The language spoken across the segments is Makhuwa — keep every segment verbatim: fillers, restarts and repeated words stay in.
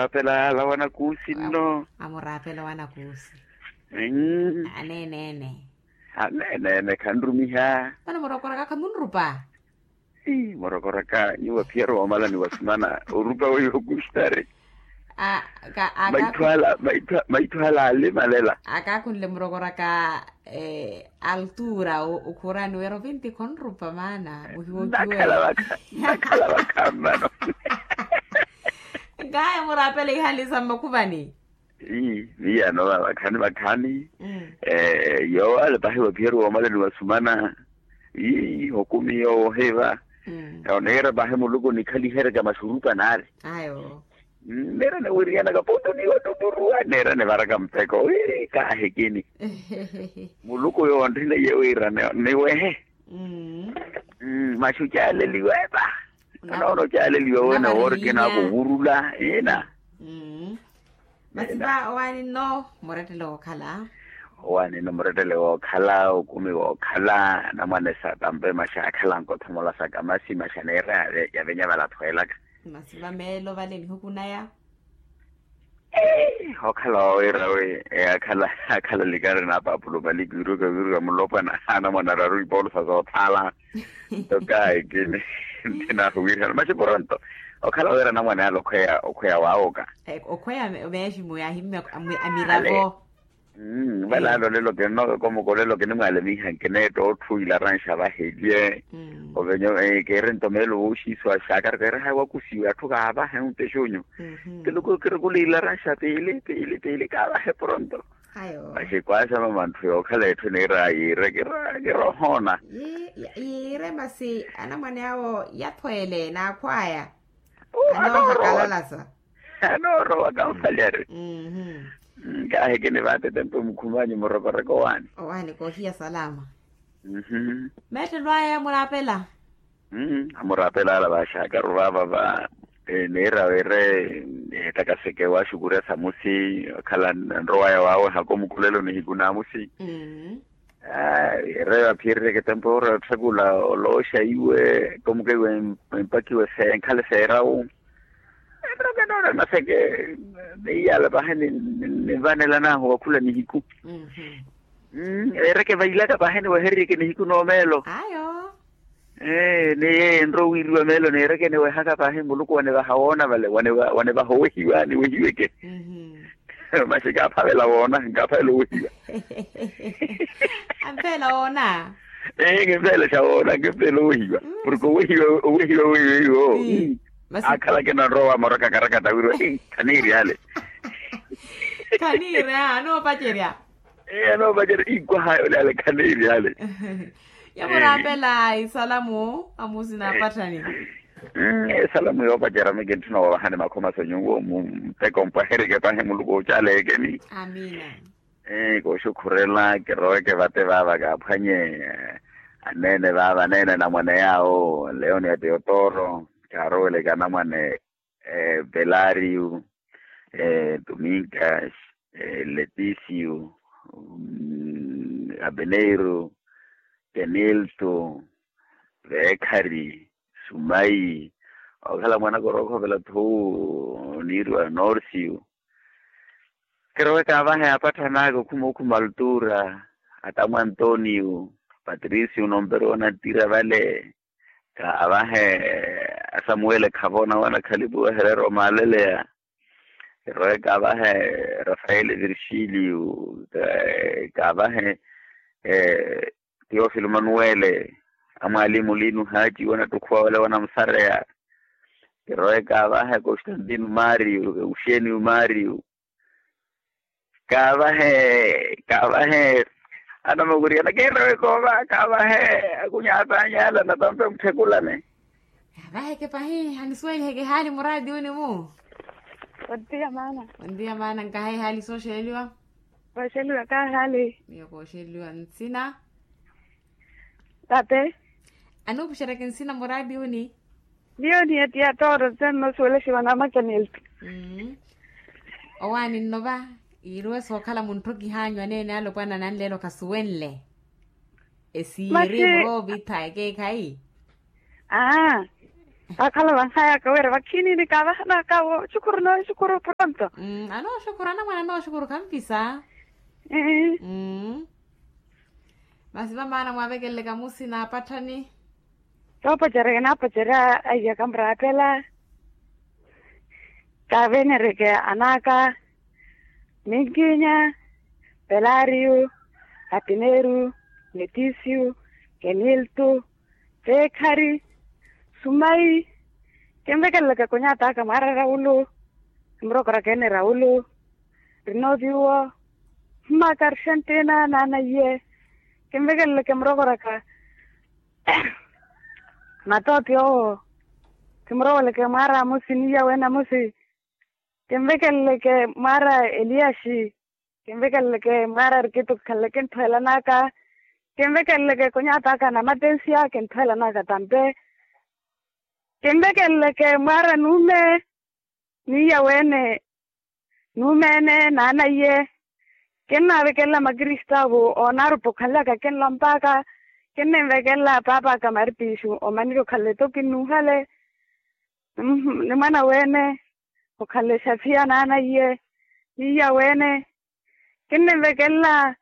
Amuraapela ala wanakuusi nno. Amuraapela wanakuusi. Aneeneene. Aneeneene khanrumiha. Mano murokoraka khamunrupa. Murokoraka nyuwo aphiyari woomalani wa sumana orupa weiwo kuxtari. Maithu ala maithu ala alimalela. Akaakhunle murokoraka altura okhuurani wira ovinti khonrupa maana muhiwokiwe. Nakhala vakha mmano. Nkaya muraapela ihali sa mmakhuvani. Ii viyano vakhani vakhani. Yoowo ale pahi waphiyari woomalani wa sumana. Ii okumi yoowo ohiva. Oneera pahi muluku nikhaliherya ka maxurupa naari. Neera niwiriyanaka putu niwatuturuwa neera nivaraka muteko wi kaahikini. Muluku yoowo onthina iye wira niwehe. Maxu caaleliwa epa. Anoona ocaaleliwa wene woori kinaaka owurula ina. Masi va owaani nno murettele wookhala. Owaani nno murettele wookhala okumi wookhala anamwane sa tampe maxaakhala nkothomola sa kamasi maxa neera yavenya valathweelaka. Masi va meelo vale nihukunaya. Okhala wawira wi akhala akhala likari na papulo palikiwiruka wiruka mulopwana anamwane araru ipoolusa soothaala. Tokayi kini nthinahu wiihana maxi poronto. Okhala wira anamwane ale okhweya okhweya waawoka. Okhweya meeximu yaahimme amiravo. Vale ale olelo kinnoka komuka olelo kinimwaalemiha nkineetta otthu ilaranxa vahelye. Ovenyo kiiri nto meelo wooxiisiwa xaakari keeri haya wakusiwe atthu kaavahe ontexonyu. Kiluku kirukula ilaranxa piili piili piili kaavahe poronto. Maxi kwaasama manthu yookhala etthu niira yiire kirohoona. Yiire masi anamwane awo yathweele naakhwaya. Anoohakalala sa. Anoorowa kampalyari. Nkaahi kini vaate tempe mukhumanyu murokoroko owaani. Owaani koohiya salama. Meettelwaya muraapela. Amuraapela ala vaxaakaru vaava va niira wire. Ettakaseke waaxukurya samusi okhala nrowaya waawe hako mukulelo nihiku naamusi. Aayi ereyo aphiyereryeke tempo ora otthakula olooxa iwe komuka iwe empakiwe se enkhale seerawu. Enroke noona naseke. Neiyala pahi ninvanelanahu wakhula nihiku. Ereke vailaka pahi niwehereryeke nihiku noomeelo. Ni yeye enrowiiriwa meelo neereke niwehaka pahi muluku wanevaha woona vale wanevaha owehiwa niwehiweke. Maxi kaaphavela woona nkaaphavela owehiwa. Ampheela woona. Ee kimpheelexa woona kimpheela owehiwa. Porke owehiwa owehiwa weiwo akhalake nanrowa moroka karakata wirwa khaniiri ale. Khaniiri anoopacerya. Ee anoopacerya inkwaha yole ale khaniiri ale. Yamuraapela isalamu amusi naapatthani. Esalamu yoopacerya mi kintthuna wovahani makhomaso nyuwo muteko mpwaherike pahi muluku ocaleekeni. Amina. Kooxukhurela kiroweke vate vaava kaaphwanye aneene vaava aneene anamwane yaawo leoni ya teotoro kaaroweleke anamwane pelario, domingas, letisiu, abeneiru, keniltu, veekhari, sumai, okhala mwanaka orookhopela thuu oniiriwa norsiu. Kirowe kaavahe apatthanaka okhuma okhuma altura, atamu antonio, patrisiu nomperu onantira vale. Kaavahe asamuwele khavoona wanakhalipuwa hereera omaaleleya. Kirowe kaavahe rafaele virgilio, kaavahe teofilo manuwele, amwaalimu lino haaci wanattukhuwa wale wanamusareya. Kirowe kaavahe constantino mario euxenio mario. Kaavahe kaavahe anamukuriana keerewe koova kaavahe. Akunyatanyala natampe mutthekulane. Kaavaheke pahi hanisuweliheke haali muraatiyuni-mu. Ontiya maana. Ontiya maana nkahayi haali sooxeliwa. Kooxeliwa kahaali. Miyo kooxeliwa nsina. Tape. Anuupuxeryaka nsina muraatiyuni. Miyo ni etiya tooro tse nnosuwelexiwa na makanelti. Owaani nno va iiriwe sookhala muntthokih'anyu aneene alopwana nanleelo khasuwenle. Esiiri muroovitha ekeekhayi. Aa. Vakhala vanhayaka wira vakhinini kavahanaka wo shukuru no shukuru pronto. Anooshukuru anamwana anooshukuru khampisa. Masi vamaana mwaavekeleleka musi naapatthani. Toopocerya kinaapocerya aiya kamuraapela. Kaavenereke anaka, minkinya, pelariyu, apineru, metisiyu, keniltu, teekhari, sumayi. Kinvekeleleke kunyataka mwaara rawulu, kimurokoraka ene rawulu, rinoviwo, mmaka arixentina naanaiye. Kinvekeleleke murokoraka, matooti owo. Kimurokoleke mwaara amusi niya wene amusi. Kinvekeleleke mwaara eliyaxi. Kinvekeleleke mwaara arikito kikhalele kintthuwelanaka. Kinvekeleleke kunyataka namatensiya kintthuwelanaka tampe. Kinvekeleleke mwaara nuume niya wene nuume ene naanaiye. Kinnaavekelela makristavu oonaarupa okhalelaka kinlompaka. Kinninvekelela paapaka maripixu omanike okhalele toki nnuuhale. Ni mwana wene okhalele xafiya naanaiye. Niya wene kinninvekelela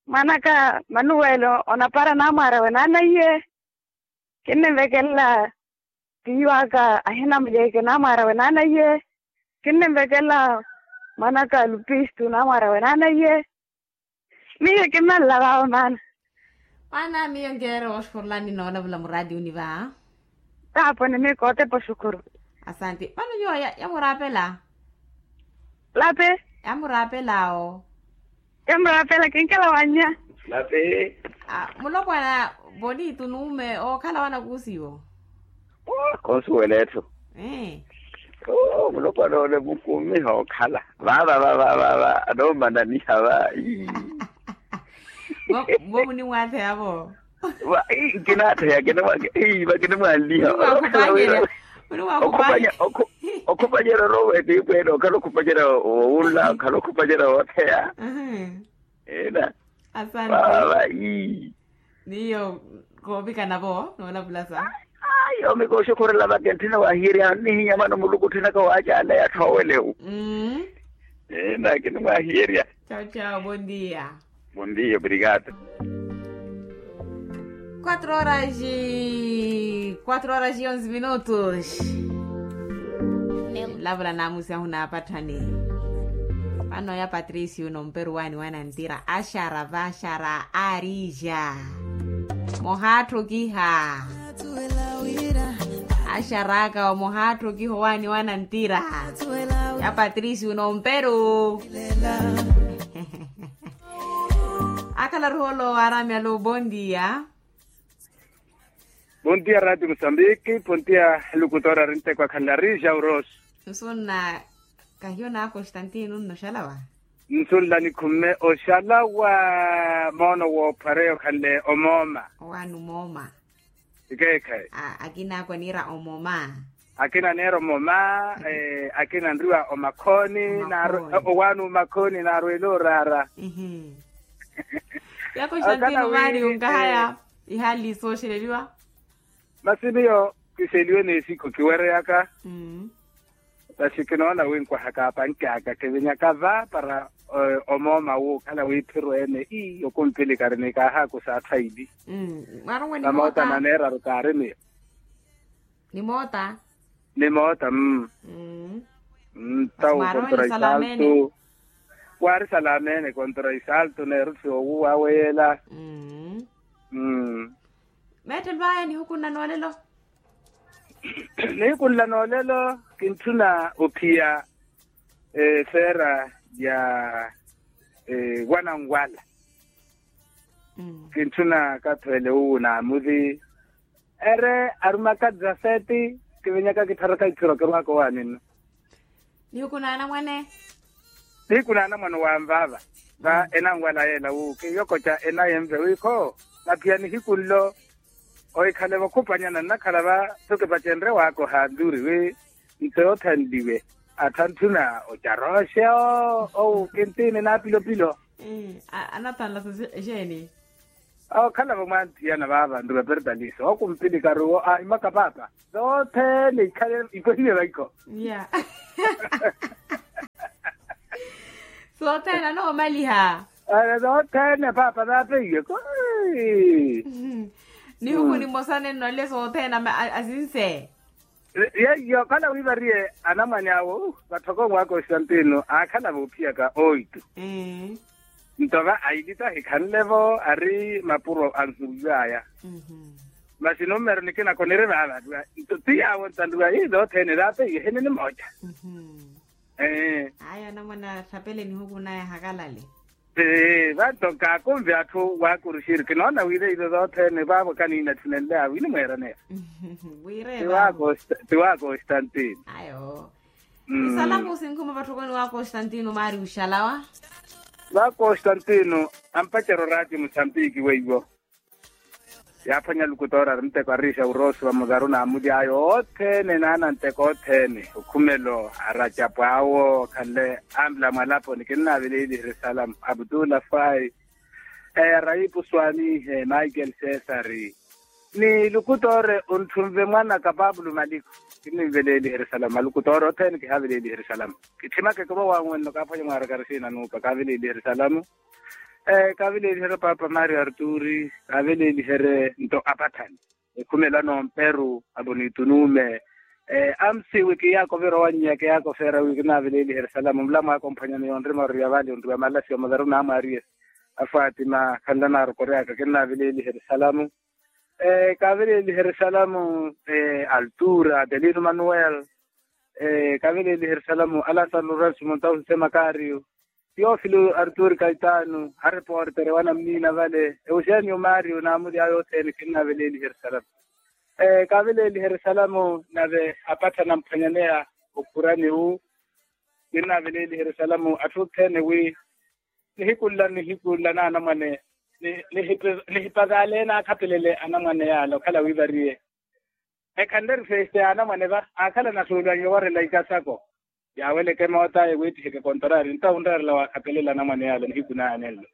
mwanaka manuwelo onapara naamwaarawe naanaiye. Kinninvekelela tiiwaka ahina mulyeke naamwaarawe naanaiye. Kinninvekelela mwanaka lupistu naamwaarawe naanaiye. Miyo kimmalla vaavo maana. Maana miyo nkeere wooxukurulani noolavula muraatiyuni va. Taapo ni miyo kootepa oxukuru. Asanti vano nyuwo yamuraapela. Lape. Yamuraapela awo. Yamuraapela kinkela wannya. Lape. Mulopwana, vonitu nuume ookhala wanakuusiwo. Khonsuwela etthu. Mulopwana ole mukumiha okhala vava vava vava anoomananiha va. Mwo munimwatheya vo. Nkinaatheya. Vakinimwanliha. Okhupanyerya. Okhupanyerya orowa etiipo ene okhala okhupanyerya wowunla okhala okhupanyerya wootheya. Ena. Asante. Vava. Miyo koovikana vo noolavulasa. Ayo mikooxukhurela vaka entthina wahiyeryani nihinya mano muluku otthinaka waacaala yatthoowelewu. Ena kinimwahiyeerya. Chawo chawo bondia. Bondia obrigado. Quatro horas e quatro horas e onze minutos. Lavula naamusi ahu naapatthani. Vano ya patricio nomperu waani wanantira axara vaxara arija. Muhaattukiha. Axaraka omuhaattukiha owaani wanantira. Ya patricio nomperu. Akhala ruholo aramyalo bondia. Bondia radio mosambiki. Bondia lukutora rintekwa khalari jauros. Nsunna kahiyo na constantino nnoxalawa. Nsunla nikhumme oxalawa. Moono woophwareya okhanle omooma. Owaani omooma. Ikeekhayi. Akina akwa niira omooma. Akina neera omooma. Akina nriwa omakhooni. Owaani omakhooni naarwela oraara. Ya constantino maari onkahaya. Ihaali sooxeleliwa. Masi miyo kiseliwe n'esiku kiwereyaka. Masi kinoona wi nkwahaka apanki aka kivinyaka va para omooma wuukhala wiiphiru ene ii okumpilikari ni kaahaakusa atthu aili. Mamoota naneeraru kaari miyo. Nimoota. Nimoota. Mmm. Mmm. Tawu kontra isaltu. Waari salamene kontra isaltu neeruthi owuwa awe yeela. Mmm. Meettelwaya nihukunna noolelo. Nihukunna noolelo kintthuna ophiya feera ya wananwala. Kintthuna kathweele uwu naamuthi ere arumaka dezaseti. Kivinyaka kittharaka iphiro kirwaka owaani nno. Nihuku naanamwane. Nihiku naanamwane owanvaava va enanwala yeela wu kiyokoca enaye nve wi kho naphiya nihiku nlo. Ohikhale vakhupanyana nnakhala va tho kipacenrye waakoha nduri wi nto yoothanliwe atthu antthuna ocaroxe owu kintini naapilopilo. Anathanlasa exeeni. Okhala-vo mwanthiyana vaava nruva pertalisa okumpilikaru wo ahimaka paapa. Sothene ikhale ipwehile vaikho. Ya. Sothene anoomaliha. Sothene paapa vaapeiye. Nihuku nimosa nenno ale sothene asinse. Yeiyo khala wiivariye anamwane awo vatthokomu wa konstantino aakhala voophiyaka oitu. Nto va ailita hikhanle-vo ari mapuro anhuwiw'aya. Masi numero nikina koniri vaava nto ti yaawo ntanduwa ii sothene vaapeiye hene nimoca. Aya anamwane atthapele nihuku naya hakalale. Vanto kaakunve atthu waakuruxiri kinoona wira izo sothene vaavo kaniina tthunenle awi nimweeraneya. Wire vaavo. Ti wa konstantino. Ayo. Isalamu sinkhuma vatthokoni wa konstantino maari uxalawa. Va konstantino ampacero raati musambiki weiwo. Yaaphwanya lukutoora ari nteko ariixa urosi va muzaru n'amuli ayo othene n'ananteko othene okhumelo aracapu awo khanle ampila mwalaponi kinnaveleelihe erisalamu abutula fai. Raipu swanihe michael cesari ni lukutoore ontthunve mwanaka papulo maliko. Kinninveleelihe erisalamu malukutoore othene kihaaveleelihe erisalamu. Kitthimake kivo wanwenno kaaphwanya mwaaraka risiina nuupa kaaveleelihe erisalamu. Kaaveleeliherye paapa mario arturi kaaveleeliherye nto apathani. Ekhumelo anomperu abonitu nuume. Amsi wi kiyaako vira owanyiya kiyaako feera wi kinaaveleeliherye salamu mulamu akomphwanyani yonrima oriya vale onriwa malasi omaveru naamwaariye. Afaatima khanla naarokoryaka kinaaveleeliherye salamu. Kaaveleeliherye salamu altura adelino manuel. Kaaveleeliherye salamu alasaro lorenso montausi se makario. Teofilo arturi kaitano areportere wanamunina vale eusenio mario naamuli ayo othene kinnaveleeliherye salamu. Kaveleeliherye salamu nave apattha namphwanyaneya okhurani wu. Kinnaveleeliherye salamu atthu othene wi nihiku nla nihiku nla naanamwane nihipazaleene akhapelele anamwane yaala okhala wi variye. Ekhanle eri festa ya anamwane va akhala nasuulwaiwe owarela ikasako. Yaaweleke moot'aya wiittiheke kontarari nto awunreerela waakhapelela anamwane yaala nihiku naaya nenlo.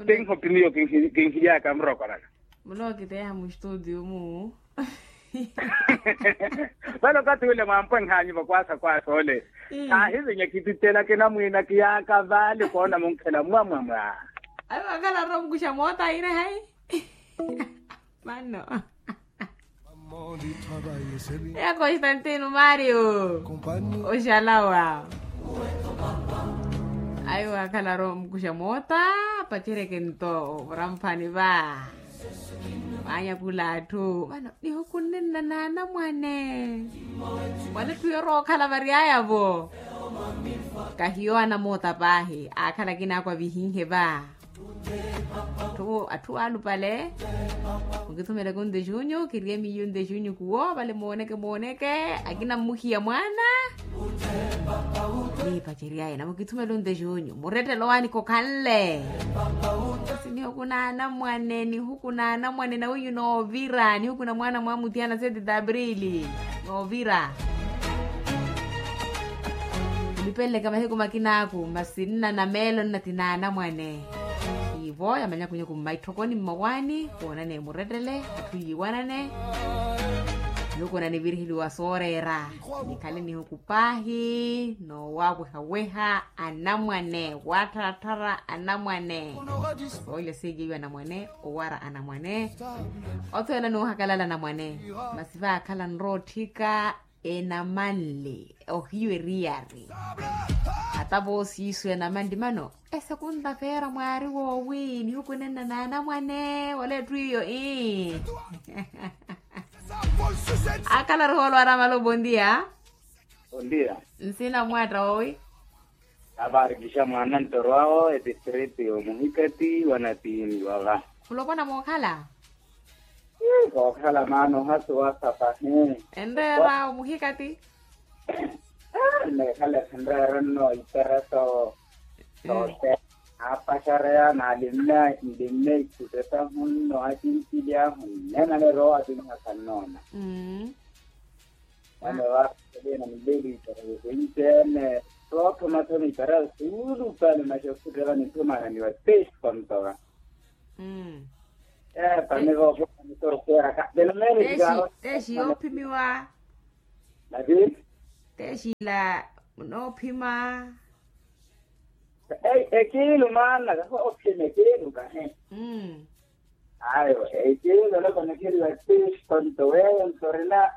Tinhopi miyo kinhiyaka murokoraka. Mulookiteeha mustudio mu. Vale okathi wile mwampwenhaanyu vakwaasa kwaasa ole. Kaahivinya kititela kinamwiina kiyaaka vale koona munkhela mwamwamwa. Ayo akhala romukusha moota aire hai. Mano. Ya konstantino mario. Oxalawa. Ayo akhala romukusha moota. Pacereke nto vuramphani va. Vaanyakula atthu vano nihukunnenna naanamwane. Mwanetthu yorookhala variaya-vo. Kahiyo anamoota paahi aakhala akinaakwa vihinhe va. Atthu atthu alupale. Mukithumeleke ontexunyu kiriye miyo ontexunyu kuwo vale mooneke mooneke. Akina mmuhiya mwaana. Niipaceryaya namukithumela ontexunyu murettelo waani kokhanle. Sinihuku naanamwane nihuku naanamwane nawinyu noovira nihuku na mwaana mwa muthiana seti taprili. Noovira. Nipeleleke mahiku makinaaku masi nna na meelo nna ti naanamwane. Ivo yamanyakunyaku mmaitthokoni mmawaani woonane murettele atthu yiiwanane. Nihuku nanivirihiliwa sooreera. Nikhale nihuku paahi noowawehaweha anamwane wattharatthara anamwane. Soolya siikiiwe anamwane owara anamwane. Othweela nuuhakalala anamwane. Masi vaakhala nrootthika enamanle ohiyu eriyari. Ata voosiisu enamanle mano esekunta feera mwaari woowi nihukunenna naanamwane wala etthu iyo ii. Akhala ruhoolo aramala obondia. Ondia. Nsina mwaatta woowi. Avarikisha mwaana ntoro awo etistriti omuhikati wanatiini wava. Khulopwana mookhala. Kookhala maana ohasi wasapahe. Enreera omuhikati. Neekhala khanreera nno iperato. Sote. Aapaxareya naalimme nlimme ikutetahu nno akinsilyahu nnenale rowa akinhasa nnoona. Mano vaapelena muleli iperato sinceene. Voopha mathoni para suulu pale maxa okhutela nithumana ni wa pesi kontoka. Mm. Epa ni voopha ni sorosera ka pelo mene. Tesi tesi yoophimiwa. Nati. Tesi la noophima. Ekiilu maana kafa ophima ekiilu kahe. Mm. Ayo, ekiilu oloko nikiriwa tisi konto weyo ntorina.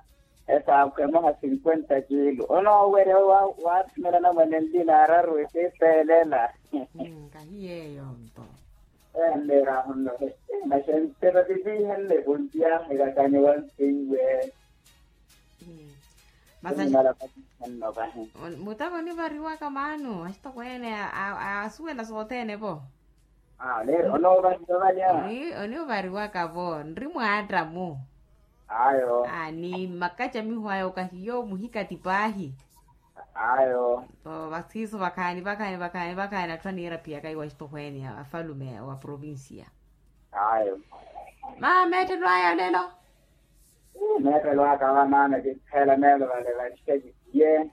Esaakhwe emoha cinquenta kiilu onoowerya waathimela namwene nlina araru ekiipeelela. Kahiyeeyo nto. Enneera ahonno. Maxentero titiihenle punti yahekakanye wansiiwe. Mutaka onivariwaka maano axitokweene asuwela sothene vo. Onivariwaka vo nri mwaatta mu. Ayo. Ni makacamiho aya okahiyo muhikati paahi. Ayo. Vasiiso vakhaani vakhaani vakhaani vakhaani atthu aniira phiyaka iwa axitokweene afalume wa provincia. Ayo. Mama meettelo aya olelo. Meettelo aka vamaana kinkheela meelo vale vanxikakitiye.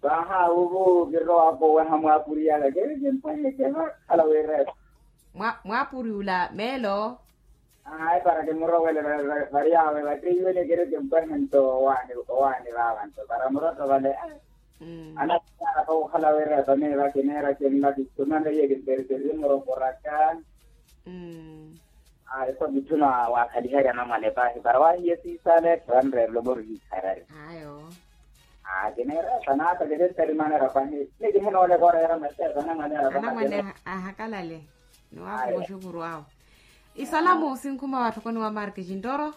Vahaavuvu kirowa kooweha mwaapuriyaka keri kimpwaheke vakhala wiireepa. Mwaapuriyula meelo. Ahayi para kimurowele variyaawe vatteiwene keri kimpwahe nto owaani owaani vaava nto para murotto vale. Anakara pa okhala wiireepa miiva kineera kinla kitumana iye kinteriterye murokoraka. Ayi so mitthuna waakhaliherya namwane paahi para waahiye siisaale vanreerelo mori hiikharari. Ayo. Kineera epanata kiventari manera paahi. Nikimunoole koreera maseesa namwane ara paahi. Anamwane ahakalale. Niwaakuva oxukuru awo. Isalamu sinkhuma watthokoni wa marki xintoro.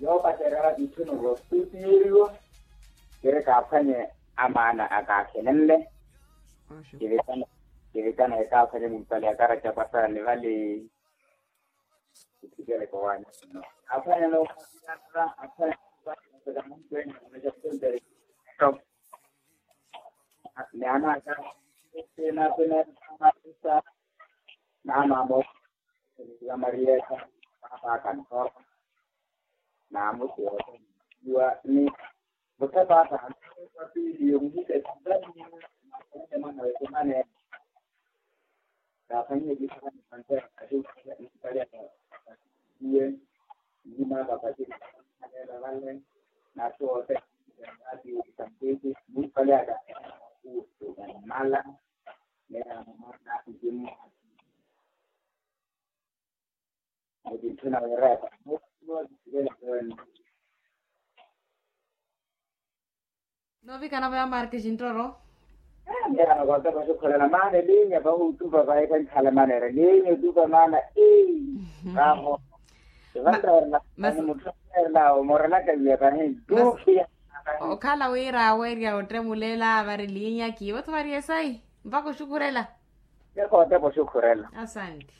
Yoopacerya mitthuna voostuti yeeriwa. Kiri kaaphwanye amaana akaakhenenle. Kivitana kaaphwanye mumpale akaraca pasani vali. Kithikele kowaani. Aphwanye noophwanya aphwanye. Ni anaaka. Sina sina. Naamaamo. Namariyeeka. Paapa akanthooka. Naamusi othene. Iwa ni muthepaata. Papili yomuhika esitani. Mwana wekumane. Kaafanyile kisani. Iye. Nima papatili. Vale. Natthu othene. Ati. Santiti. Mupalyaka. Mala. Noovikana vaya marki xintoro. Mira nokotepa xukhulela maana elinya vahutupa vayi kankhala manera elinya otupa maana. Raho. Ivanreerela. Masi mutthu aneerela omorelaka viya vahi. Dukiya. Okhala wira awerya ottemulela vari linya kiivo tho vari esayi. Mpakha oxukhurela. Ekhotepa oxukhurela. Asanti.